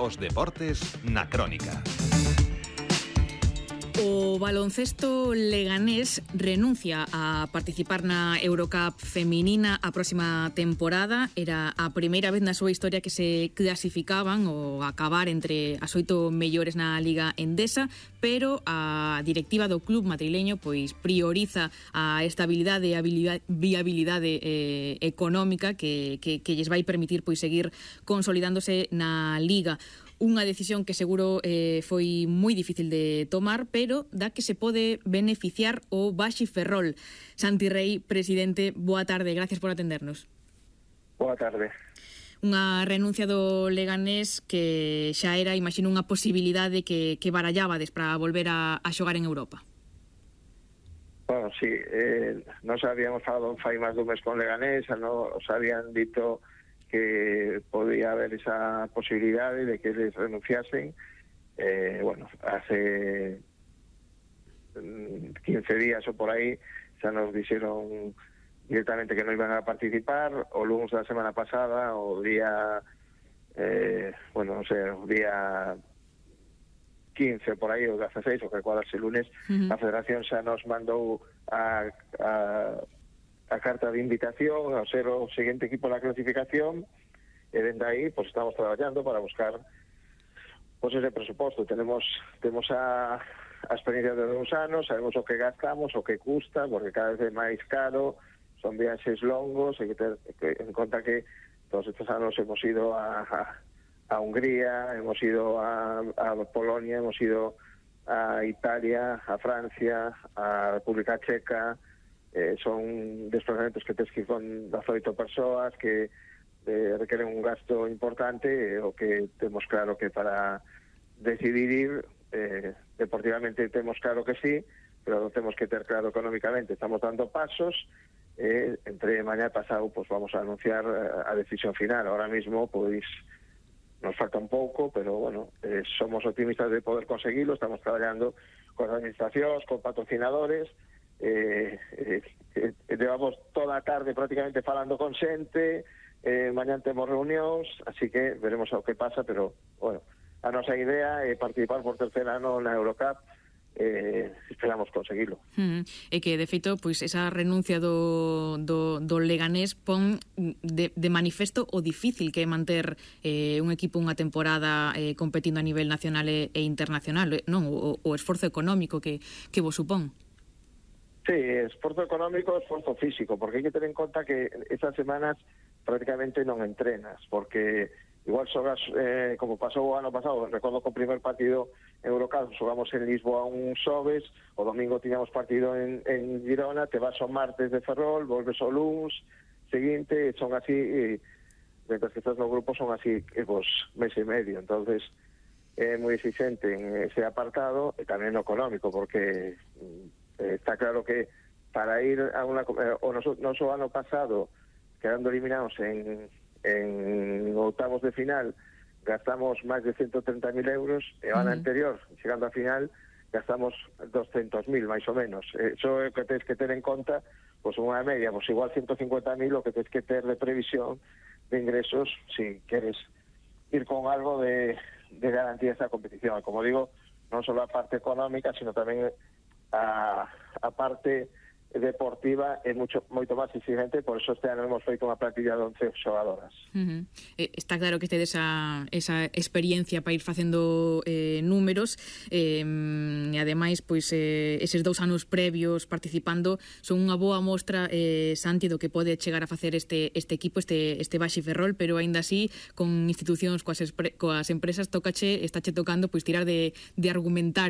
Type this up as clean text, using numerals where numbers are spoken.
Os deportes na crónica. O baloncesto leganés renuncia a participar na Eurocup feminina a próxima temporada. Era a primeira vez na súa historia que se clasificaban ou acabar entre as 8 mellores na Liga Endesa, pero a directiva do club madrileño pois prioriza a estabilidade e a viabilidade económica que lles vai permitir pois seguir consolidándose na Liga. Unha decisión que seguro foi moi difícil de tomar, pero da que se pode beneficiar o Baxi Ferrol. Santi Rei, presidente, boa tarde, gracias por atendernos. Boa tarde. Unha renuncia do Leganés que xa era, imagino, unha posibilidade que barallabades para volver a xogar en Europa. Bueno, sí, nos habíamos falado fai máis dun mes con Leganés, nos habían dito que podía haber esa posibilidade de que les renunciasen. Bueno, hace 15 días o por aí xa nos dixeron directamente que non iban a participar. O lunes da semana pasada, o día non sei, o día 15 por aí, o 16, o que cuadrase o lunes, a Federación xa nos mandou a carta de invitación a ser o seguinte equipo da clasificación, e dende aí pues estamos traballando para buscar pues ese presuposto. Temos a experiencia de 2 anos, sabemos o que gastamos, o que custa, porque cada vez é máis caro, son viaxes longos, hai que ter en conta que todos estes anos hemos ido a Hungría, hemos ido a Polonia, hemos ido a Italia, a Francia, a República Checa. Son desplazamentos que tens que ir con 18 persoas, que requeren un gasto importante, o que temos claro que para decidir ir deportivamente temos claro que sí, pero temos que ter claro económicamente. Estamos dando pasos, entre mañá e pasado pues vamos a anunciar a decisión final. Ahora mismo pois nos falta un pouco, pero bueno, somos optimistas de poder conseguirlo. Estamos traballando con administracións, con patrocinadores. Llevamos toda a tarde prácticamente falando con xente, mañá temos reunións, así que veremos o que pasa, pero bueno, a nosa idea é participar por terceiro ano na Eurocup. Esperamos conseguilo. E que, de feito, pois esa renuncia do Leganés pon de manifesto o difícil que é manter un equipo unha temporada competindo a nivel nacional e internacional, non? O esforzo económico que vos supón. Sí, esforzo económico, esforzo físico, porque hai que ter en conta que esas semanas prácticamente non entrenas, porque igual xogas, como pasou o ano pasado, recordo que o primer partido Eurocup xogamos en Lisboa un xoves, o domingo tiñamos partido en Girona, te vas o martes de Ferrol, volves o luns seguinte, son así, mientras que estás no grupo son así, pues, mes e medio. Entonces é moi exigente en ese apartado, e tamén no económico, porque está claro que para ir a una... o noso ano pasado, quedando eliminados en octavos de final, gastamos máis de 130.000 euros, e o ano anterior, chegando a final, gastamos 200.000, máis ou menos. Eso é o que tens que ter en conta, pues unha media, pues igual 150.000 o que tens que ter de previsión de ingresos, si queres ir con algo de garantía esta competición. Como digo, non só a parte económica, sino tamén a parte deportiva é moito máis exigente, por eso este ano hemos feito unha plantilla de 11 xogadoras. Está claro que tedes esa experiencia para ir facendo números, e ademais pois eses 2 anos previos participando son unha boa mostra, Santi, do que pode chegar a facer este equipo, este Baxi Ferrol, pero aínda así con institucións, coas empresas, estáche tocando pois tirar de argumentario